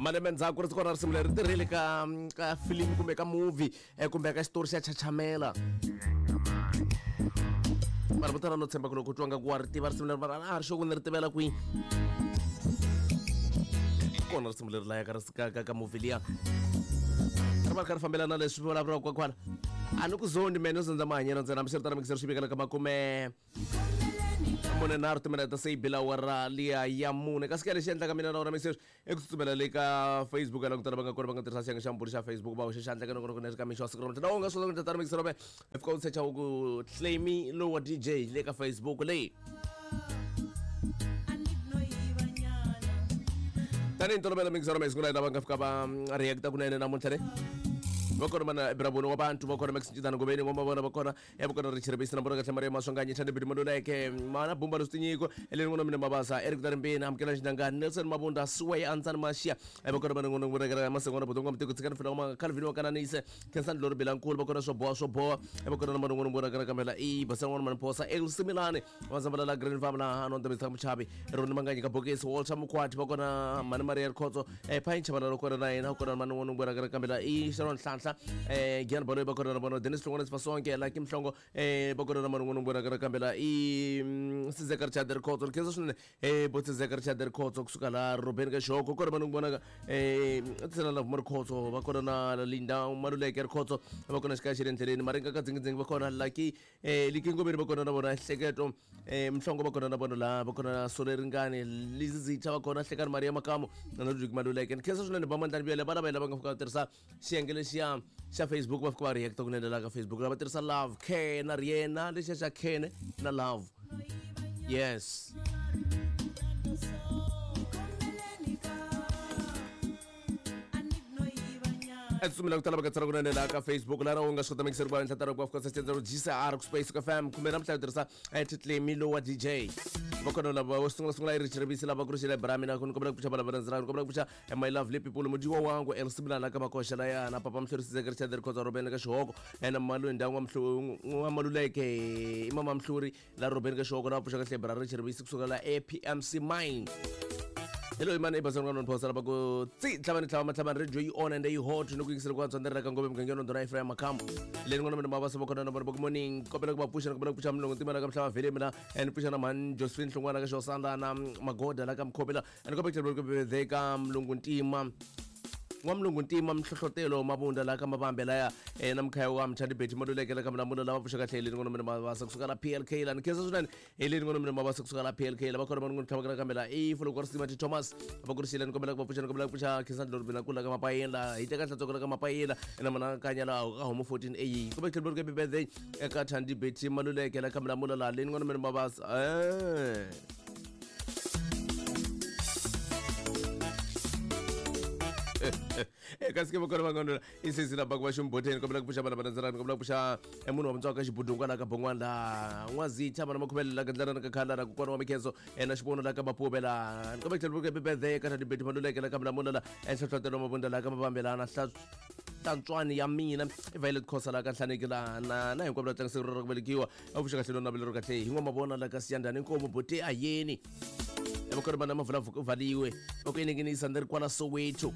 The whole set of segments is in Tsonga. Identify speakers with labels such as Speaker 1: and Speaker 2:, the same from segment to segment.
Speaker 1: Malembe ndzhaku ri kona risimu leri tirhile ka film kumbe ka movie kumbe ka xitori xa chachamela. Vanhu vo tala no tshemba ku loko u twa nga ku wa ri tiva risimu leri mara a ri xo ku ni ri tivela kwihi. Kona risimu leri laya ka movie liya. Ri va ri kha ri fambelana na leswi vulavuriwaka kwala. A ni ku zondi mene no zondza mahanyelo ntsena hambi swi ri tano mikisero xi vikela ka makume 43 timinete se yi bila awara liya ya mune kasi ka lexi endlaka mina na wena mikisero i ku tsutsumela le ka Facebook ya langutana va nga kona va nga tirhisa xiyenge xa mbulu xa Facebook va hoxa xandla ka nongonoko leri ka mixo wa siku ra namuntlha na u nga swi kota ku endla tano mikisero me i fika u secha u ku claim lowa DJ le ka Facebook leyi tanihi ntolovelo mikisero me siku la lava nga fika va reacta kunene namuntlha le va kona mana braboni wa bantu va kona max ncitana ngobeni ngoma vona va kona ya vukona ri chirivisi na mbona kahle maria maswanganyi thande bidi maluleke mana bumba lusitinyiko eleni ngona mina mabasa eric darimbeni amukela xinangani nelson mabunda suway antsani mashiya evakona vana ngona ngona kera masengona botonga mutiko tsikani fila ma calvin wa kananise khensani lori bilankulu vakona swo boha swo boha evakona na mana ngona ngona kera kamela i basa ngona mana phosa elsimilane wazambala la green farm la hano ndabisa muchavi roni manganyi ka bokisi walter mukwati vakona mani maria rikhotso phayin chavana lokona na yena kona mani ngona ngona kera kamela i sharon nhlanhla gian baloyi vakona na vona dennis hlongwane sifasonke lucky mhlongo vakona na mani ngona ngona kera kambela i sizeka richard rikhotso rikhensa swinene bo sizeka richard rikhotso kusuka la robeni ka xoko kona mani ngona tsena la vuma rikhotso vakona na linda maluleke rikhotso vakona xikaya xi le endleleni maringa ka dzingidzingi vakona lucky likingomeni vakona na vona hleketo mhlongo vakona na vona la vakona na sole ringani lizizitha vakona hlekani maria makamu na ludwig maluleke ni khensa swinene va mandlani vuyele vana va yena va nga fika va tirhisa xiyenge lexiya xa Facebook va fika va reacta kunene la ka Facebook lava tirhisa love care na riena lexiya xa care na love yes tsumela ku tala va ka tsala kunene laha ka Facebook laha u nga swi kota mikiseri ku va endla tala ku va fika setsendza GCR ku Space FM kumbe namuntlha u tirhisa titlemi lowa DJ va kona lava wo sungula sungula i Rich Rivisi lava ku ri xile bra mina ku ni kombela ku pfuxa valava landzela ni kombela ku pfuxa my lovely people mudiwa wangu Elsimila la ka makoxa laya na papa Mhlori Sizeke Richard Rikhotsa Robeni ka Xihoko na Malu ndyangu wa Maluleke i mama Mhluri la Robeni ka Xihoko na va pfuxa kahle bra Rich Rivisi kusuka la APMC Mine hello imani ibasani ka nonphosa lava ku tsi tlhavani tlhava matlhavani radio yi on and yi hot ni ku yingisela ku antswa ndzi ri ka ngove mugangeni ndona Ephraim Makhambo leyi ni ngona mina mavasa va kona na vona va ku morning kombela ku va pfuxa ni kombela ku pfuxa mulungu ntima la ka mhlava vhele mina ni pfuxa na mhani Josephine Hlongwana ka Xosanda na Magoda la ka Mkhobela ni kombela ku tlhela ku birthday ka mulungu ntima n'wamulungu ntima mihlohlotelo mabunda la ka mavambe laya na mkhaya wa mthandi beti maluleke la ka mlamula lava pfuxa kahle leyi ni ngona mina mavasa kusuka la PLK la ni khensa swinene hi leyi ni ngona mina mavasa kusuka la PLK lava kona va ni tlhavakela kambe la i fulo ku ri Thomas va ku ri ni kombela ku va pfuxa ni kombela ku pfuxa khensani lori bina kula ka mapayela hi teka nhlantswako la ka mapayela na mana kanya la ka homo 14 a kumbe tlhelo ri birthday eka Thandi Betty Maluleke la ka mlamula la leyi ni ngona mina mavasa kasi ke vokona vangondola isisi lava ku va ximboteni kombela ku pfuxa vana va landzelani kombela ku pfuxa munhu wa mutswaka xibudungwa la ka bon'wana la n'wazitha vana makhuvele la ka ndlelana ka khala la kokwana wa mikhenso na xivono la ka mapuve la ni kombela ku tlhela ku birthday ka Thandi Maluleke la ka mlamula la enhlohlotelo mabunda la ka mavambelana hlantswani ya mina i Violet Khosa la ka Nhlaneki la na na hinkwavo la tlangisa ra ku velekiwa a pfuxa kahle no navelo ro kahle hi n'wamavona la ka Siyandhani Nkomo bote ayeni evokona vana mavula valiwe va ku eninginisa ni ri kwala Soweto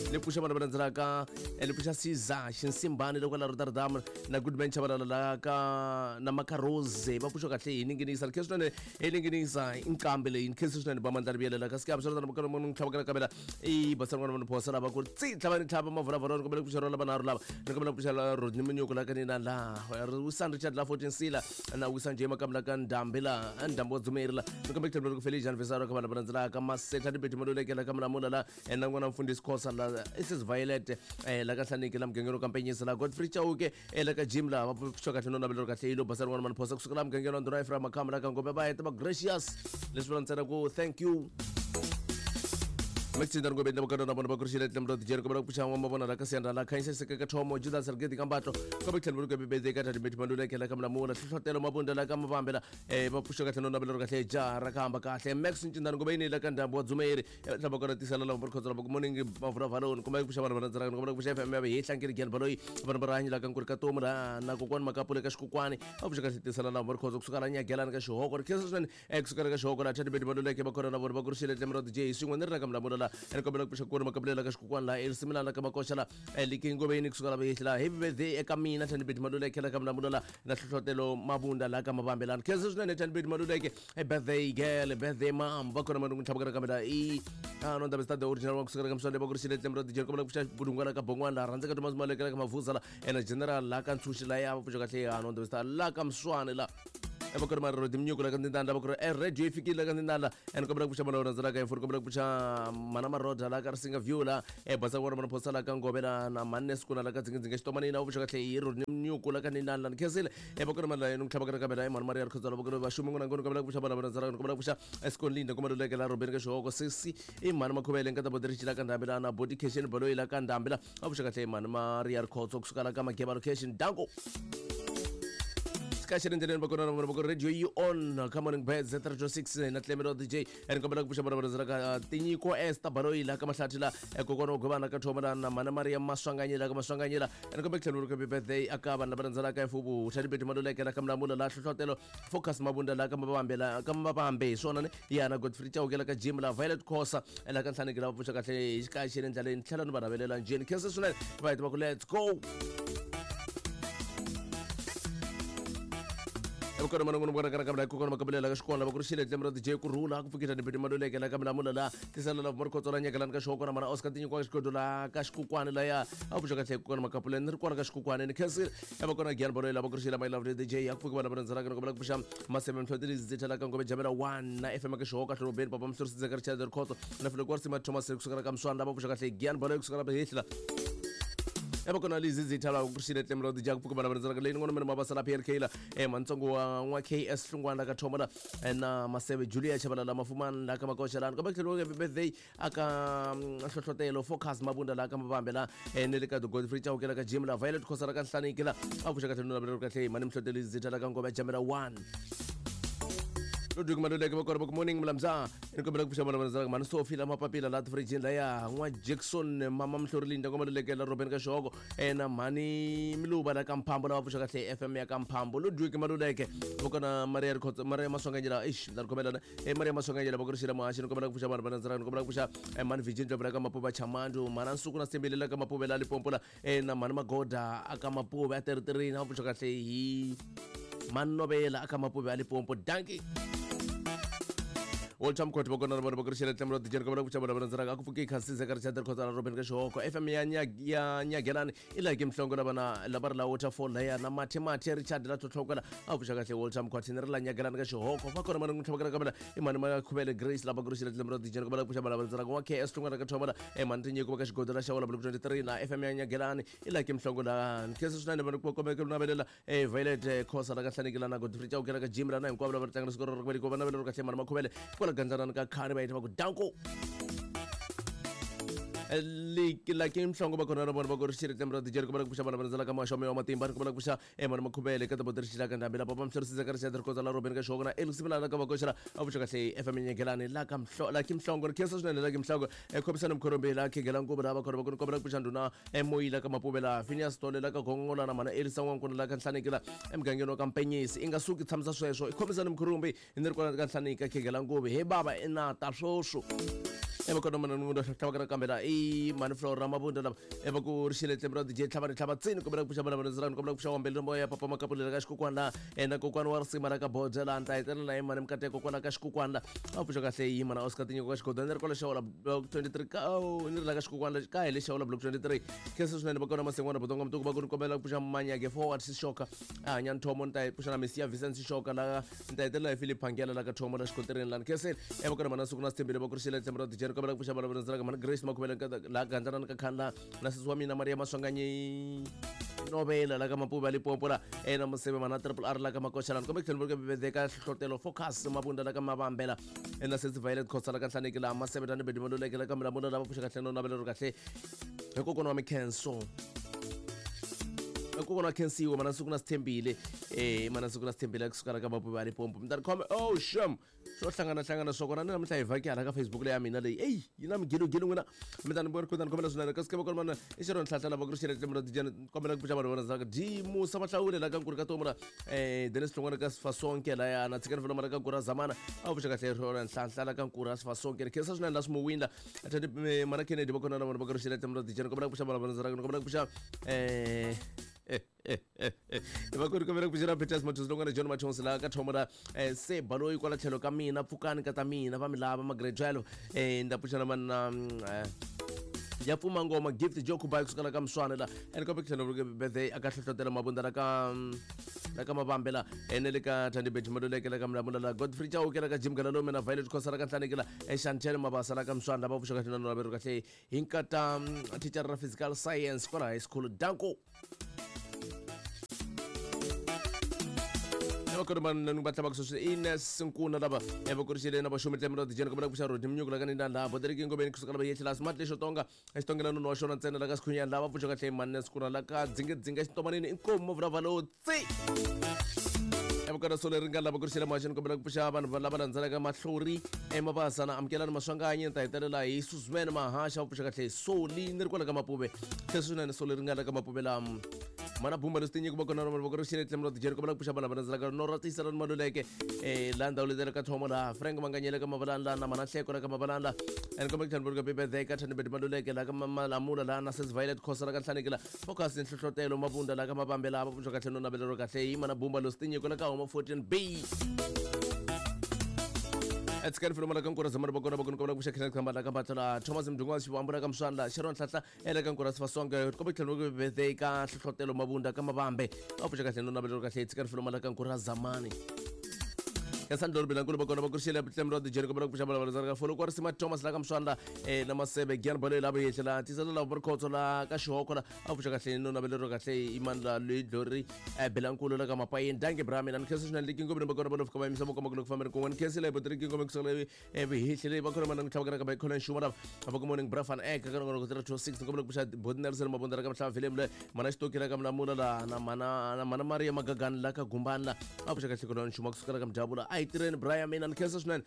Speaker 1: ni pfuxa vana va landzelaka ni pfuxa Caesar Xinsimbani loko la Rotterdam na Goodman Chabalala la ka na Makarose va pfuxa kahle hi ninginisa ni khensa swinene hi ninginisa inqambi leyi ni khensa swinene ba mandla rivuyelela kasi ka swi ri munhu tlhavakela kambela i basana n'wana munhu phosa lava ku ri tsi tlhava ni tlhava mavhulavhula ni kombela ku pfuxa lava nharhu lava ni kombela ku pfuxa Rodney Munyuku la ka nina la Wisan Richard la 14 Sila na Wisan J Makamu la ka Ndhambi la Ndhambi wa Dzumeri la ni kombela ku tlhela ku Felicia Anvisaro ka vanhu va landzelaka Masetha ni Betty Maluleke la ka Mulamula la na n'wana mfundhisi Khosa la Isis Violet la ka Nhlaniki la mugangeni wa Kampenyisa la Godfrey Chauke la ka Jim la va pfuxa kahle no navelo kahle yilo basana n'wana mani phosa kusuka la mugangeni wa Ndhuna Ephraim Makamu la ka Ngombe va heta va gracious leswi vula ntsena ku thank you Mexinda ngombe ndaba kana bona bakurishile tlemro dijeri kombela ku pfuxa n'wa mavona la ka Siyanda la Khanyisa Seke ka Thomo Judas Sergeti ka Mbatlo kombe tlhelo ku bebede ka Thandi Betty Maluleke la ka Mlamula hlohlotelo mabunda la ka Mavambe la va pfuxa kahle no navelo kahle jaha ra ka hamba kahle Max Ncindani ngombe yini la ka Ndhambi wa Dzumeri tlhava kona tisela la va khotsa la ku morning mavula valoni kombe ku pfuxa vanhu va landzelaka kombela ku pfuxa FM ya hi hlankeli Gian Baloyi vanhu va rihanyo la ka Nkuri ka Tomu la na kokwani Makapule ka Xikokwani va pfuxa kahle tisela la va khotsa kusuka la Nyagelani ka Xihoko ri khensa swinene kusuka la ka Xihoko la Thandi Betty Maluleke va kona na vona va kurishile tlemro DJ swin'we ni ri la ka Mlamula la la ene kombela ku pfuxa kona makabulela ka xikukwana la erisimilana la ka makoxa la likingoveni kusuka la vehehla la happy birthday eka mina Thandibeti Maluleke la ka Mlamula la na hlohlotelo Mabunda la ka Mavambelani. Khensa swinene Thandibeti Maluleke, birthday girl, birthday mom. Va kona manungu ntlhavukana kambe la i no ndaba the original wa kusuka ka Mswande va ku ri xile tlembe ra DJ kombela ku pfuxa Budungwana ka Bongwana la rhandzeka Thomas Maluleke la ka Mavuza la ena general la ka Ntshunxi la ya va pfuxa kahle no ndaba la ka Mswane la evakori marero timnyuku la ka Ndindanda va ku ri radio yi fikile la ka Ndindanda and kombela ku pfuxa mana rhandza la ka info kombela ku pfuxa mana Maroda la ka Risinga View la basa wona mana phosa la ka Ngove la na manne sikuna la ka Dzingadzinga Xitomanini va pfuxa kahle hi ro timnyuku la ka Ndindanda ni khensile evakori mana la tlhava ka kambe la Mani Maria Rikhotswa la va ku ri vaxumi n'wana ngoni kombela ku pfuxa mana rhandza la kombela ku pfuxa Eskonlinda kombela leke la Robeni ka Xihoko sesi i mani Makhuvele nkata Bodirichi la ka Ndhambi la na Body Cation Baloyi la ka Ndhambi la va pfuxa kahle mani Maria Rikhotso kusuka la ka Mageba location danko kaxi endleleni va kona na vona va ku radio yi on ka Morning Birds 306 na Tlemelo DJ ene kombela ku pfuxa vona va ka Tinyiko Esther Baloyi la ka Mahlathi la kokwana wa Govana ka Thoma la na mana Maria Maswanganyela ka Maswanganyela ene kombela ku tlhela ku happy birthday aka vanhu lava rhandzelaka mfuvu Thandibeti Maluleke la ka Mlamula la hlohlotelo Focus Mabunda la ka Mavambe la ka Mavambe hi swona ne yana Godfrey Chauke la ka Jim la Violet Khosa la ka Nhlaneki la va pfuxa kahle hi xikaya xi le ndlaleni tlhela ni va navelela njheni khensa swinene va heta va ku let's go. Evukona manongono vona kana kambe kokona makabulela ka xikona va ku ri xile tlembe ra DJ ku rhula ku pfukita ni Maluleke la ka Mlamula la tisala la Markhotso la nyakelani ka xihoko na mana Oscar Tinyiko ka xikodo la ka xikukwani la ya a pfuxa kahle kokona makapuleni ni ri kona ka xikukwani ni khensile evakona Gian Baloyi la va ku ri xile my lovely DJ ya ku pfuki vana va rhandzanaka ni kombela ku pfuxa Maseve Mhloteli Zitha la ka Ngove Jamela 1 na FM ka Xihoko Hlorobeni Papa Mhlorisi Dzeka Richard Rikhotso na Filo Kwarsima Thomas kusuka ka Mswana va pfuxa kahle Gian Baloyi kusuka la Hehla evakona Lizizitha la ku xile tlembe ra DJ ku pfuka vana va rhandzanaka leyi ni ngona mina mabasa la PLK la mantsongo wa n'wa KS Hlungwana la ka Thoma la na Maseve Julia Chabalala Mafumani la ka Makoxa la ni kombela ku tlhela happy birthday aka hlohlotelo Focus Mabunda la ka Mavambe la ne le ka Godfrey Chauke la ka Jim la Violet Khosa la ka Nhlaniki la a pfuxa kahle no navelela kahle mani Mhlotelo Zitha la ka Ngove Jamela 1 Ludwig Maluleke va kona va ku morning Mlamza ni kombela ku pfuxa vana va mani Sophie la mapapila la tifirijini la ya n'wa Jackson mama Mhlorilinda kwa Maluleke la Robeni ka Xihoko na mhani Miluva la ka Mphambo lava pfuxa kahle FM ya ka Mphambo Ludwig Maluleke va kona Maria Rikhotso Maria Maswanganyela eish ndza ri khomela Maria Maswanganyela va ku ri xila muhaxi ni kombela ku pfuxa vanhu va rhandzaka ni kombela ku pfuxa mhani Virgin Ndlovu la ka Mapuva Chamandu mhana Nsuku na Sembele la ka Mapuve la Limpopo la na mhani Magoda aka Mapuve a Teriterini va pfuxa kahle hi Manovela aka Mapuve a Limpopo danki Walter Mkhoti va kona na vona va ku ri xile tlembe ra DJ kombela ku pfuxa vana va rhandzaka a ku pfuki khasise ka Richard Rikhotso la Robeni ka Xihoko FM ya ya Nyagelani i la ke Mhlongo lava na lava ri la Waterfall la ya na Mathe Mathe Richard la Tlhotlhoko la a pfuxa kahle Walter Mkhoti ni ri la Nyagelani ka Xihoko va kona mani tlhavakela kamela i mani Makhuvele Grace lava ku ri xile tlembe ra DJ kombela ku pfuxa vana va rhandzaka wa KS Hlungwana ka Thoma la mani Tinyiko va ka Xigodo la Xawula Block 23 na FM ya Nyagelani i la ke Mhlongo la khensa swinene vanhu ku kombela ku navelela Violet Khosa la ka Nhlaneki la na Godfrey Chauke la ka Jim la na hinkwavo lava tlangela siku ra ku velekiwa va navelela kahle mani Makhuvele kwala gandzanani ka khani va yita va ku danko la ke Mhlongo va kona na vona va ku ri xile tlembe ra DJ kombela ku pfuxa vana va rhandzela ka maxomo ya matimba ni kombela ku pfuxa mani Makhuvele ka Tabo Xila ka Ndhambi la Papa Mhlorisi ka Richard Rikhotso la Robeni ka Xihoko na Elix Milana ka Vakoxela a pfuxa kahle FM Nyegelani la ka Mhlo la ke Mhlongo ni khensa swinene la ke Mhlongo khomisani Mkhorombe la Khegela Nguvu la va kona va ku ni kombela ku pfuxa ndhuna Moyila ka Mapuve la Phineas Tole la ka Gongola na mana Elisa N'wankuna la ka Nhlaneki la emugangeni wa ka Mpenyisi i nga suki tshamisa sweswo i khomisani Mkhorombe ni ri kwala ka Nhlaneki ka Khegela Nguvu he bava i na ta swoswo evakona mana munhu tlhavaka kambe la i mani Flora Mabunda lava eva ku ri xile tlembe ra DJ tlhava ni tlhava tsini kombela ku pfuxa vana va rhandzaka ni kombela ku pfuxa wambele moya papa Makapulela ka xikukwana la na kokwana wa risima la ka Bodza la ni ta hetelela hi mani Mikateko kwala ka xikukwana la a pfuxa kahle yi mana Oscar Tinyiko ka Xigodo ni ri kwala Xawula Block 23 ka ni ri la ka xikukwana ka hi le Xawula Block 23 khensa swinene va kona Masengwana Botonga Mutuku va ku ni kombela ku pfuxa Manyage Forward Sishoka a hanya Nthomo ni ta pfuxa na Mesiya Vincent Sishoka la ni ta hetelela hi Philip Phangela la ka Thomo la xikotirini la ni khensile eva kona mana Suku na Sithembile va ku ri xile tlembe ra DJ ni kombela ku pfuxa vana va rhandzaka mana Grace Makhuvele la gandlana ka khani la na sesi wa mina Maria Maswanganyi Novela la ka Mapuva Limpopo la na Museve mana Triple R la ka Makoxa la ni kombela ku tlhela ku bebedeka hlohlotelo Focus Mabunda la ka Mavambela na sesi Violet Khosa la ka Nhlaneki la Maseve Tani Bedi Maluleke la ka Mlamula la va pfuxa kahle no navelelo kahle hi kokwana wa Mikhenso kokwana wa Khensiwe mana Suku na Sithembile mana Suku na Sithembile kusuka la ka Mapuva Limpopo mi ta ri khome oh shame. Swo hlanganahlangana swa kona ni namuntlha hi vhaki hala ka Facebook leyi ya mina leyi eyi yi na migilogilo n'wina mi ta ni vona kutani kombela swinene kasi ke va kona mana i xirho nhlahla lava ku ri xirho mura dijana kombela ku pfuxa vanhu vona zaka di musa mahlawule la ka nkuri ka tomula Dennis Hlongwane ka Sifasonke laya na tshikani fela mara ka nkuri zamana a pfuxa kahle rona nhlahla la ka nkuri a Sifasonke ri khensa swinene la swimuwinda thandi mana Kennedy va kona na vona va ku ri xirho mura dijana kombela ku pfuxa vanhu vona zaka kombela ku pfuxa va ku ri kombela ku pfuxela Peters Mathonsi loko na John Mathonsi laha ka thomo ra se baloyi kwala tlhelo ka mina pfukani ka ta mina va mi lava ma grade 12 nda pfuxela mana ya pfuma ngoma gift jo kubai kusuka la ka mswana la ene kombe tlhelo birthday aka hlohlotela mabunda la ka la ka mavambe la ene le ka Thandi Betty Maluleke la ka Mlamula la Godfrey Chauke la ka Jim Galalome na Violet Khosa la ka Nhlaneki la Chantel Mabasa la ka Mswana lava pfuxaka xinano la veru kahle hi nkata thicara ra physical science kwala high school danko vakoromani va tlhavaka sweswi ines nkuna lava va kurixile na vaxumi tlemelo dijeni kombela ku pfuxa rodi minyuku la ka ni laha boteriki ngomeni kusuka lava yehlela smart lexo tonga exitongela nunu wa xona ntsena la ka sikhunyani lava pfuxa kahle manne sikuna la ka dzingedzinga exitomanini inkomu vulavula tsi evukana solo leri nga lava ku rixela muhaxeni kombela ku pfuxa vanhu lava landzelaka mahlori emabasa na amukelani maswanganyi ni ta hetelela hi suzman mahaxa va pfuxa kahle soli ni ri kwala ka mapuve tlhe swinene soli ri nga la ka mapuve lama mana bumba leswi tinyiko va kona rona va ku rixele tlemelo tijeri kombela ku pfuxa vanhu lava landzelaka nora tiyiselani maluleke laha ndhawu leyi ka thomo laha frank manganyele ka mavalani laha na mana hleko la ka mavalani laha and kombe ku tlhela birthday ka thandibeti maluleke laha ka malamula laha na sis violet khosa la ka nhlaneki la focus nhlohlotelo mabunda la ka mavambe laha va pfuxa kahle no navelero kahle yi mana bumba leswi tinyiko la ka homa 14 b etsikani filoma la ka nkura zamani va kona va kona kombela ku pfuxa kheneth khamba la ka mbatla thomas mdungwa xivambu la ka mswandla sharon hlahla ele ka nkura sifasonke kombe tlhelo ku birthday ka nhlohlotelo mabunda ka mavambe va pfuxa kahle no navelero kahle etsikani filoma la ka nkura zamani ya sandlori bilankulu va kona va kurixile tlemelo dijeni kombela ku pfuxa valava ka folo kwa risima thomas la ka mswandla na masebe gian balo lava yehlela tisela lava rikhotso la ka xihoko la a pfuxa kahle no navelero kahle imandla loyi dlori bilankulu la ka mapayeni danke bra mina ni khensa swinene leki ngomeni va kona va lofika va yimisa vokoma ku loko fambeni kun'wana ni khensile botiriki ngome kusukela vihehli va kona mana tlhavaka ka bayikhona nxuma lava va ku morning bra fan ek ka nongonoko 326 ni kombela ku pfuxa boti nelson mabunda la ka mhlava vilem le mana xitoki la ka mlamula la na mana na mana maria magagani la ka gumbani la a pfuxa kahle kona nxuma kusukela ka mdyabula a hi tirheni bra ya mina ni khensa swinene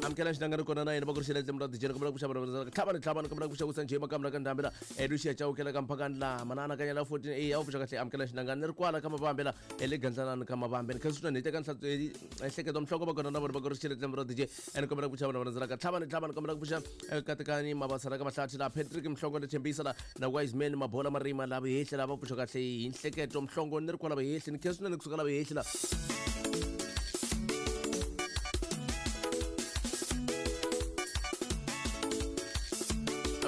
Speaker 1: amukela xinangani kona na yena va ku rixela tlemelo dijeni kombela ku pfuxa vanhu tlhavani tlhavani kombela ku pfuxa kusa njhe makamla ka ndhambi la lucia chawukela ka mphakani la mana anakanya la 14 a wu pfuxa kahle amukela xinangani ni ri kwala ka mavambe la le gandlanani ka mavambe ni khensa swinene hi teka nhleketo mhloko va kona na vona va ku rixela tlemelo dj ene kombela ku pfuxa vanhu va landzelaka tlhavani tlhavani kombela ku pfuxa katekani mabasa la ka mahlathi la patrick mhlongo ni tshembisa la na wise man mabola marima la vihehli lava pfuxa kahle hi nhleketo mhlongo ni ri kwala vihehli ni khensa swinene kusuka la vihehli la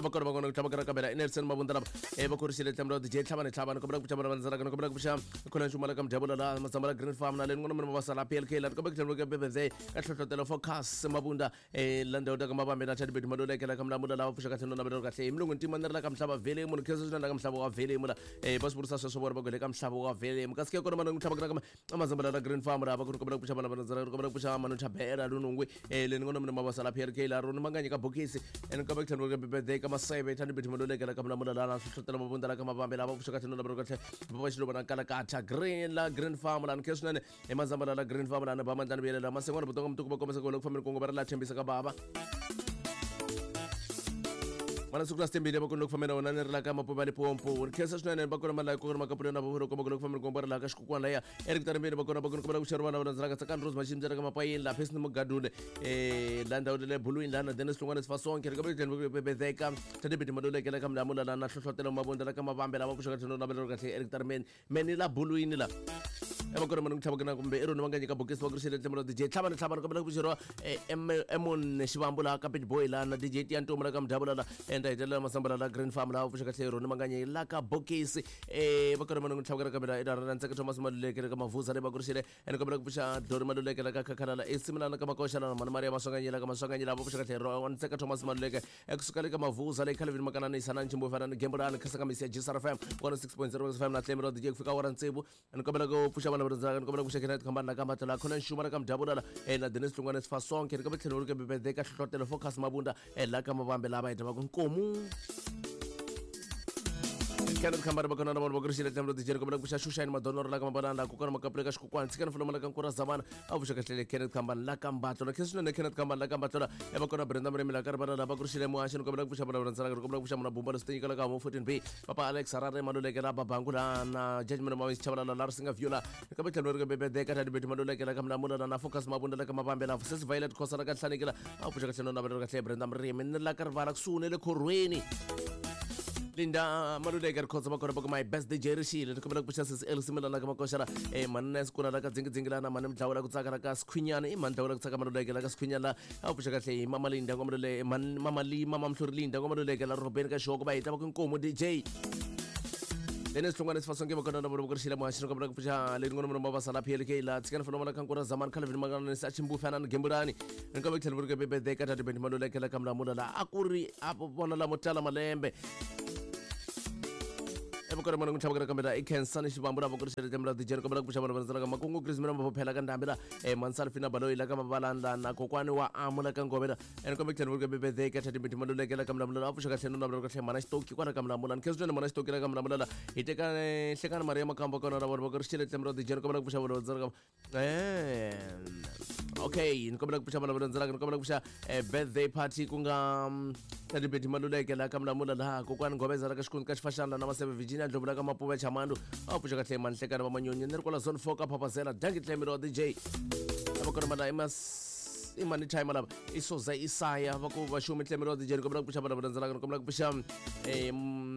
Speaker 1: va kona va kona ku tlhava ka kambela Nelson Mabunda lava va kurisile tlemelo DJ tlhavani tlhavani kombela ku pfuxa vana va landzelaka ni kombela ku pfuxa khona nxuma la ka mdyabula la mazamba la Green Farm na le ni n'wana va sala PLK la kombela ku tlhela ka birthday ka hlohlotelo focus Mabunda la ndhawu ta ka mavambe na Chadibet Maluleke la ka Mlamula lava pfuxa kahle no navelero kahle hi mulungu ntima ni ri la ka mhlava vele munhu khensa swinene la ka mhlava wa vele mula va swi vurisa sweswo vona va ku le ka mhlava wa vele kasi ke kona mana ku tlhava ka amazamba la Green Farm la va ku kombela ku pfuxa vana va landzelaka kombela ku pfuxa manu chabela lunungwi le ni n'wana mina mabasa la PLK la roni manganyi ka bokisi ene kombela ku tlhela ka birthday ka masebe Chadibet Maluleke la ka Mlamula la hlohlotelo Mabunda la ka mavambe lava pfuxa kahle no navelero kahle va xiluva na kalakatha Green la Green Farm la ni khensa swinene hi mazamba la la Green Farm la ni ba mandlani vuyelela masengwana butonga mutuku va kombisa ku loko fambeni kungu va ri la tshembisa ka bava mana siku la sitembile va kona loko fambeni na wona ni ri la ka mapuva limpopo ni khensa swinene va kona malayi kona makapuleni na vavolo komba ku loko fambeni kungu va ri la ka xikukwana laya eric tarembeni va kona va kona kombela ku xerha vana va landzelaka tsakani rose maximisa ka mapayeni la phesi ni mugadule la ndhawu le bulwini la na dennis hlongwane sifasonke ri ka bebezeka tadebeti maluleke la ka mlamula la na hlohlotelo mabunda la ka mavambe lava pfuxaka tlhelo navelero kahle eric tarembeni meni la bulwini la va kona mani ku tlhava na kumbe i roni va nga nyika bokisi va ku rixele tlemelo DJ tlhavani tlhavani kombela ku pfuxeriwa emon xivambu laha ka Big Boy laha na DJ Tiyantomu la ka mdyabula la enda hetelela masambala la Green Farm laha pfuxa kahle roni manganye la ka bokisi va kona mani ku tlhava na kambela i ra ntseka Thomas Maluleke la ka Mavuza le va ku rixele ene kombela ku pfuxa Dori Maluleke la ka Khakhala la Esimilana ka Makoxa la Mani Maria Maswanganyi la ka Maswanganyi la va pfuxa kahle ro ntseka Thomas Maluleke ekusuka le ka Mavuza le Calvin Makanani Sanani Chimbo fana ni Gembulani khasa ka misi ya GSR FM 106.0 FM na tlemelo DJ ku fika awara tsevu ni kombela ku pfuxa vana va rindzaka ni kombela ku pfuxa Kenneth Khambani la ka Matla khona nxuma la ka Mdyabula la na Dennis Hlongwane Sifasonke ni kombela tlhelo ri ka birthday ka hlohlotelo Focus Mabunda la ka Mavambe lava heta va ku nkomu Kenneth Khambari va kona na vona va kurixile tlhelo DJ kombela ku pfuxa Xuxani Madonoro la ka Mabalana la kokwana Makapule ka Xikokwani tshikani fulomo la ka Nkura Zamana a pfuxa kahle Kenneth Khambani la ka Mbatlo na khensa swinene Kenneth Khambani la ka Mbatlo la ya va kona Brenda Murimi la ka Rivala la va kurixile muhaxi ni kombela ku pfuxa vona vona ntsena kombela ku pfuxa muna Bumba leswi tinyikela ka Homo 14B Papa Alex Harare Maluleke la Babangu la na Judgment Mawisi Chabalala la Risinga Viola kambe tlhelo ri ka Bebede ka Tadi Bethu Maluleke la ka Mlamula la na Focus Mabunda la ka Mabambe la Sesi Violet Khosa la ka Nhlanekela a pfuxa kahle no navela kahle Brenda Murimi ni la ka Rivala kusuhi ne le khorweni Linda Maluleke ri khotsa makona boko my best DJ rixile ni kombela ku pfuxa sesi Elsie Milana ka Makoxa la eh mani Ness kuna la ka Dzingi la na mani Mdlawu la ku tsaka la ka Sikhwinyana i mani Mdlawu la ku tsaka Maluleke la ka Sikhwinyana la a pfuxa kahle hi Mama Linda ngwa Maluleke mani Mama Lee Mama Mhluri Linda ngwa Maluleke la Robeni ka Xihoko va hita va ku Nkomu DJ Dennis Hlongwane Sifasonke vakona na vona rixile muhaxi ni kombela ku pfuxa leyi ngona munhu mavasa la PLK la tshikani fana la kankura Zamani Calvin Mangana ni Sachimbu fana ni Gembulani ni kombela ku tlhela vuri ka Bebede ka Tati Bendi Maluleke la ka Mlamula la a ku ri a vona lamo tala malembe evukari mona n'wi kambe la i Khensani Xivambu la voko rixele tlhelo la DJ ni kombela ku pfuxa vana va ka Makungu Chris mina Maphela ka Ndhambi la Mansalfina Baloyi la ka Mabalanda na kokwani wa Amu la ka Ngove la ni kombela ku tlhela vuri ka Bebede ka Tati Bendi Maluleke la ka Mlamula la a pfuxa kahle no navela kahle mana Xitoki kwala ka Mlamula ni khensa swinene mana Xitoki la ka Mlamula la hi teka Hlekani Maria Makamba kona la vona voko rixele tlhelo la DJ ni kombela ku pfuxa vana va okay ni kombela ku pfuxa vana va landzelaka ni kombela ku pfuxa birthday party ku nga Tati Betty Maluleke la ka Mlamula laha kokwani Ngobeza la ka Xikundzu ka Xifaxana na Maseve Virginia Ndlovu la ka Mapuve Chamandu a pfuxa kahle Manhlekani va Manyonyi ni ri kwala zone 4 ka Phapazela danki Tlemelo wa DJ va kona mana i mani time lava i Soza Isaya va ku va xumi Tlemelo wa DJ ni kombela ku pfuxa vana va landzelaka ni kombela ku pfuxa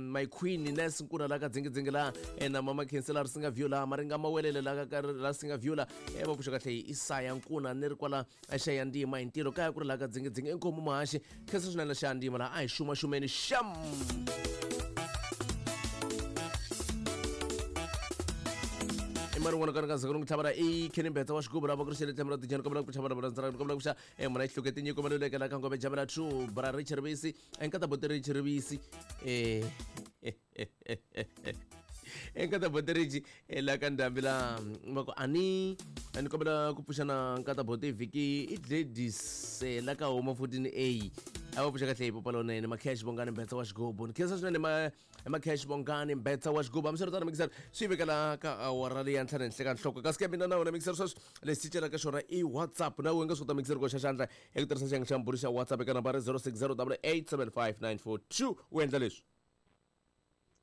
Speaker 1: my queen Nes Nkuna la ka Dzingidzingi la na mama Khensela Risinga Viola Maringa Mawelele la ka la Singa Viola va pfuxa kahle hi Isaya Nkuna ni ri kwala xa ndima hi ntirho kaya ku ri la ka Dzingidzingi inkomu muhaxi khensa swinene xa ndima la a hi xumaxumeni xam i mari n'wana ka zaka tlhavela i Kenny Mbetsa wa xigubu lava ku ri xele tlhelo ra tijani kombela ku pfuxa vana va landzelaka kombela ku pfuxa muna xihluke tinyiko Maluleke la ka Ngove Jamela 2 bra Richard Rivisi enkata bote Richard Rivisi enkata bote Rich la ka Ndhambi la va ku ani ni kombela ku pfuxa na nkata bote vhiki i Gladys la ka Homa 14A a va pfuxa kahle hi popa lonene Makhesh Bongani Mbetsa wa xigubu ni khensa swinene Makhesh Bongani Mbetsa wa xigubu hambiswiritano mixer swi vekela ka awara leyi ya ntlhanu henhla ka nhloko kasi ke mina na wena mixer sweswi lexi cicelaka xona i WhatsApp na wena nga swi kota mixer ku xa xandla hi ku tirhisa xiyenge xa mbhuri xa WhatsApp eka nambara 0608875942 u endla leswi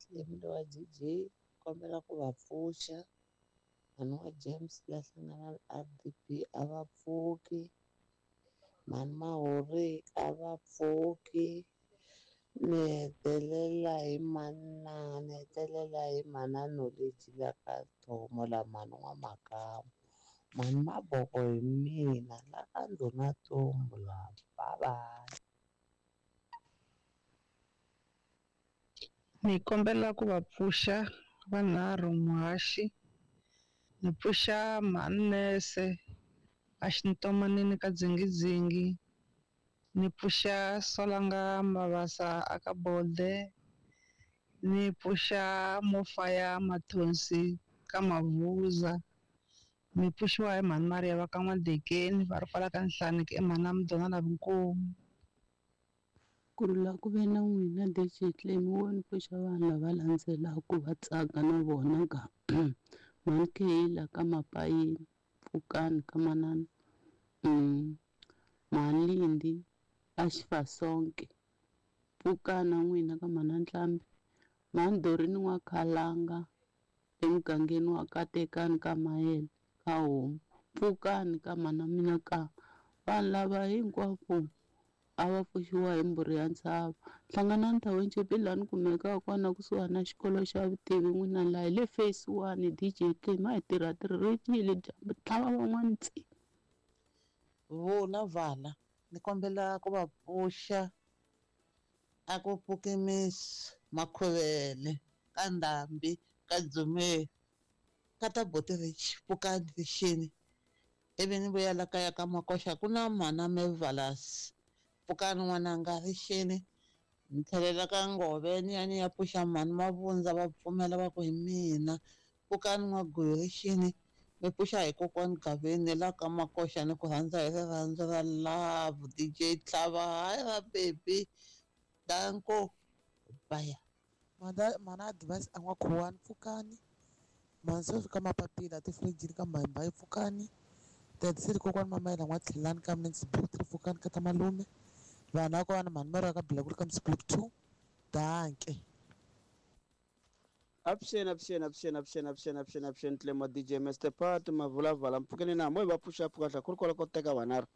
Speaker 2: Tlemelo wa DJ kombela ku va pfuxa mhani wa James la hlangana na RDP a va pfuki mhani Mahori a va pfuki ni hetelela hi mana ni hetelela hi mana Knowledge la ka Thomo la mhani wa Makamu mhani Maboko hi mina la ka Ndhuna Tumbu la bye bye.
Speaker 3: Ni kombela ku va pfuxa vanharhu muhaxi ni pfuxa mhani Nese a xintomanini ka Dzingidzingi ni pfuxa Solanga Mabasa a ka Bode ni pfuxa Mofaya Mathonsi ka Mavuza ni pfuxiwa hi mhani Maria va ka N'wadekeni va ri kwala ka Nhlaneki i mhani Mdona na Vinkomu.
Speaker 4: Ku rhula ku ve na n'wina DJ Clem wo ni pfuxa vanhu lava landzelaka va tsaka na vona ka mhani Kayla ka Mapayini Pfukani ka manana mhani Lindi a Xifasonke Pfukani na n'wina ka mhana Ntlhambi mhani Dorini N'wakhalanga emugangeni wa Katekani ka Mayele ka Homu Pfukani ka mhana mina ka vanhu lava hinkwavo a va pfuxiwa hi mbhuri ya ntshava Hlanganani Township laha ni kumekaka kona kusuhani na xikolo xa vutivi n'wina laha hi le phase 1 DJ Clem a hi tirha tirhile dyambu tlhava van'wani tsi.
Speaker 2: Vona vana ni kombela ku va pfuxa a ku pfuki Miss Makhuvele ka Ndhambi ka Dzumeri ka ta Boti Rich pfukani rixini ivi ni vuya la kaya ka Makoxa ku na mhana Mevalas pfukani n'wananga rixini ni tlhelela ka Ngove ni ya ni ya pfuxa mhani Mavundza va pfumela va ku hi mina pfukani n'waguyu rixini mi pfuxa hi kokwani Gaveni la ka Makoxa ni ku rhandza hi rirhandzu ra love DJ Tlhava hayi ra baby danko baya. Mana advice a n'wakhuwani pfukani. Mhani sweswi ka mapapila tifirijini ka mbayimbayi pfukani. Tatiseli kokwani mamayela n'watlhelani ka mnx block 3 pfukani ka ta malume. Vanhu a mhani mara ka Blakulu ka mx block 2. Danke.
Speaker 5: Avuxeni, avuxeni, avuxeni, avuxeni, avuxeni, avuxeni, avuxeni, Tlemo DJ Mr Pat Mavulavala mpfukeni na mo hi va pfuxa pfuka ku ri kwala ko teka vanharhu.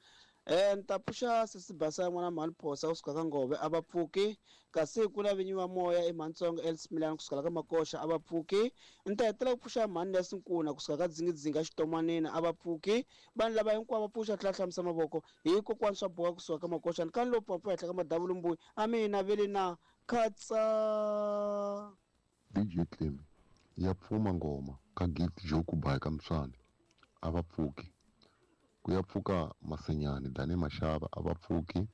Speaker 5: Ni ta pfuxa sesi Basa n'wana mhani Phosa kusuka ka Ngove a va pfuki, kasi ku na vinyi va moya i Mhantsongo Els Milani kusuka ka Makoxa a va pfuki. Ni ta hetelela ku pfuxa mhani Nesi Nkuna kusuka ka Dzingidzingi Xitomanini a va pfuki. Vanhu lava hinkwavo va pfuxa tlhela hlambisa mavoko hi kokwani swa boha kusuka ka Makoxa ni kani lowu pfapfa henhla ka madavulu mbuyi a mina vele na khatsa.
Speaker 6: DJ Clem ya pfuma ngoma ka Gift Joe Kubayi ka Mswani a va pfuki. Ku ya pfuka Masenyani Dani Mashava a va pfuki.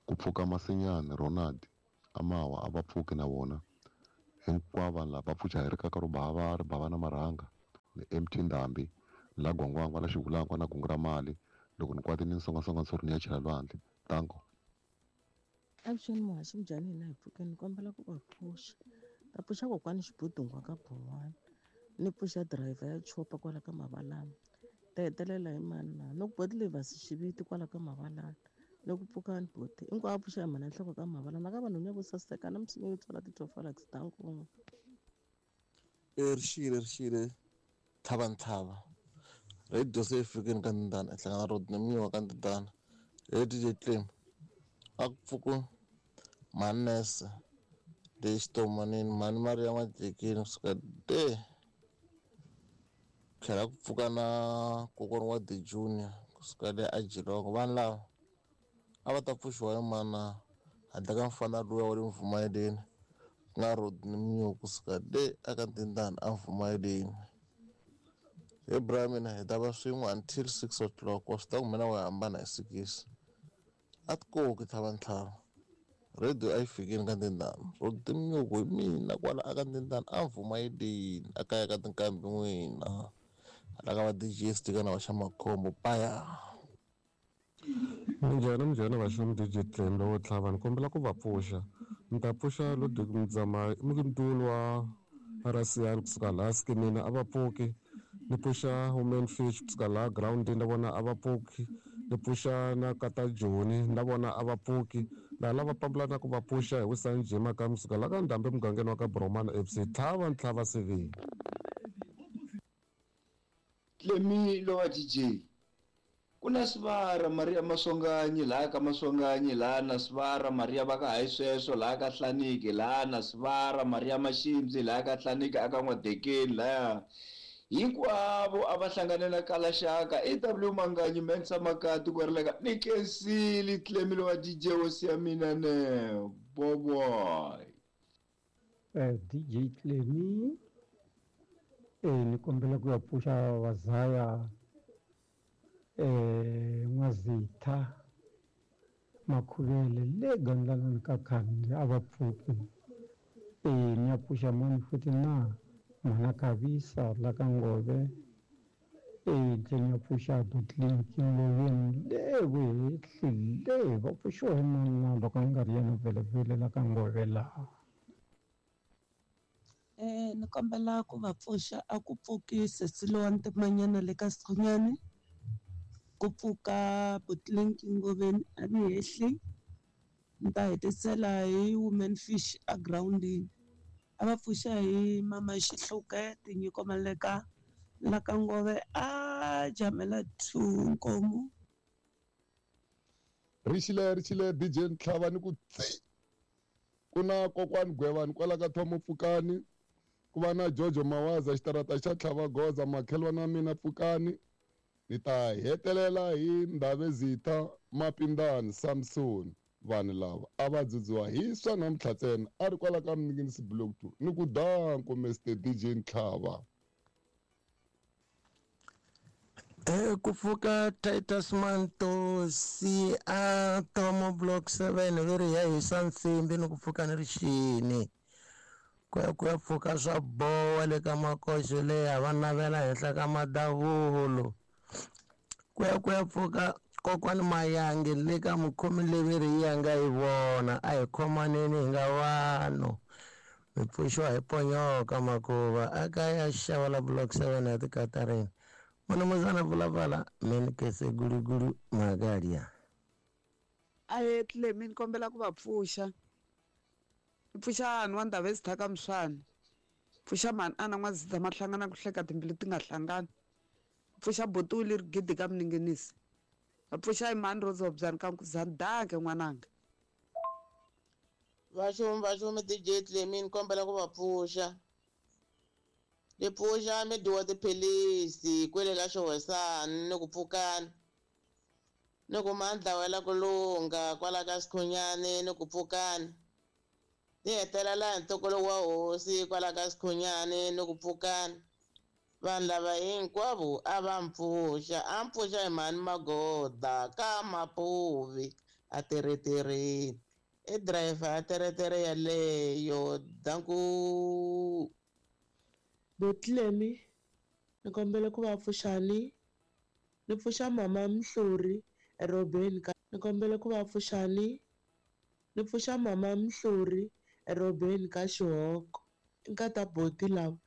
Speaker 6: Ku pfuka Masenyani Ronald Amawa a va pfuki na vona. Hinkwavo vanhu lava va pfuxa hi rikaka ro bava ri bava na marhanga ni MT Ndhambi la Gwangwangwa la Xivulangwa na kungu ra mali loko ni kwatile ni songasonga ntshuri ni ya chela lwandle. Tanko.
Speaker 7: Avuxeni muhaxi minjhani hina hi pfukeni ni kombela ku va pfuxa. Ta pfuxa kokwani Xibudungwa ka Bhowani. Ni pfuxa driver ya chopa kwala ka Mavalani. Ta hetelela hi mani na ni ku boti Levasi xiviti kwala ka Mavalani. Ni ku pfukani boti. Hinkwavo pfuxa hi mhani ya nhloko ka Mavalani. Na ka vanhu vo saseka na misinya yo tswala ti-Tofalax ta nkun'we.
Speaker 8: Rixile rixile tlhava ntlhava. Radio se yi fikini ka Ndindana hlangana road ni minyiwa ka Ndindana. Hey DJ Clem. A ku pfuki Manese leyi xitomanini mhani Maria Majekini kusuka de tlhela ku pfuka na kokwana wa The Junior kusuka le a Geelong. Vanhu lava a va ta pfuxiwa hi mana handle ka mfana luya wa le Mvumayeleni ku nga Rodney Mnyu kusuka le aka Ndindana a Mvumayeleni. He bra mina hi ta va swin'we until 6 o'clock wa swi tiva ku mina wa hambana hi 6. A ti koki tlhava ntlhava. Radio a yi fikini ka Ndindana. Rodney Mnyuku hi mina kwala aka Ndindana a Mvumayeleni a kaya ka tinkambi n'wina. Hala ka va DJ Stika na va xa Makhombo paya.
Speaker 9: Minjhani minjhani vaxomi DJ Clem lowo tlhava ni kombela ku va pfuxa. Ni ta pfuxa Ludwig Mdzama mutulu wa Rasiyani kusuka laha Skimina a va pfuki. Ni pfuxa Women Fish kusuka laha groundini na vona a va pfuki. Ni pfuxa na Kata Joni na vona a va pfuki. Laha lava pambulana ku va pfuxa hi Wisani Jima ka kusuka laha ka Ndhambi mugangeni wa ka Bromana FC tlhava ntlhava CV.
Speaker 10: Clemi lowa DJ. Kuna Sivara Maria Maswanganyi laha ka Maswanganyi laha na Sivara Maria va ka hayi sweswo laha ka Hlaniki laha na Sivara Maria Mashimzi laha ka Hlaniki aka N'wadekeni laha hinkwavo a va hlangane na Kalaxaka AW Manganyi Mensa Makati ku ri ni Kensili Clemi lowa DJ hosi ya mina ne boboy.
Speaker 11: DJ Clemi ni kombela ku ya pfuxa Vazaya N'wazitha Makhuvele le Gandlalani ka Khambi a va pfuki. Ni ya pfuxa mani futhi na mhana Khavisa la ka Ngove. Tlhela ni ya pfuxa Butlinki Ngoveni le vuhehli le va pfuxiwa hi mani na loko a nga ri yena vhele la ka Ngove laha.
Speaker 7: Ni kombela ku va pfuxa a ku pfuki sesi lowa ntimanyana le ka Sikhonyani. Ku pfuka Butlinki Ngoveni a ni hehli. Ni ta hetisela hi Women Fish a groundini. A va pfuxa hi mama Xihluke Tinyiko Maleka la ka Ngove a jamela 2 Nkomo.
Speaker 6: Rixile rixile DJ Ntlhava ni ku tsi. Ku na kokwani Gwevani kwala ka Thomo Pfukani. Ku va na Jojo Mawaza xitarata xa Tlhava Goza makhelwana wa mina Pfukani. Ni ta hetelela hi Ndhavezitha Mapindani Samson. Vanhu lava a va dzudziwa hi swa namuntlha ntsena a ri kwala ka Mninginisi Block 2 ni ku danko Mr DJ Ntlhava.
Speaker 12: Ku pfuka Titus Mantosi a Tomo Block 7 veri ya hisa nsimbi ni ku pfuka ni rixini. Ku ya pfuka swa bowa le ka Makoxo leya va navela henhla ka madavulo. Ku ya pfuka kokwani Mayange le ka mukhomi leveri yi ya nga yi vona a hi khomaneni hi nga vanhu. Mi pfuxiwa hi ponyoka makuva a kaya xava la block 7 ya tikatarini. Munumuzana Phalaphala Menikese Gulugulu Magaria.
Speaker 13: Ahee Tlemi ni kombela ku va pfuxa. Ni pfuxa hahani wa Ndhavezitha ka Mswani. Pfuxa mhani Ana N'wazitha mahlangana ku hleka timbilu ti nga hlangani. Pfuxa buti Willie Rigidi ka Mninginisi. Va pfuxa Imani Rozobyani ka Nkuzani danke n'wananga.
Speaker 2: Vaxumi vaxumi DJ Tlemi ni kombela ku va pfuxa. Ni pfuxa mi dyiwa tiphilisi kwele ka xihosani ni ku pfukani. Ni ku mandla wela ku lunga kwala ka Sikhunyani ni ku pfukani. Ni hetelela hi ntukulu wa hosi kwala ka Sikhunyani ni ku pfukani. Vanhu lava hinkwavo a va mpfuxa, a mpfuxa hi mhani Magoda ka Mapuvi a teretereni. I driver ya teretere yaleyo danku.
Speaker 14: Botlemi ni kombela ku va pfuxani ni pfuxa mama Mhluri eRobeni ka ni kombela ku va pfuxani ni pfuxa mama Mhluri eRobeni ka Xihoko nkata boti lava.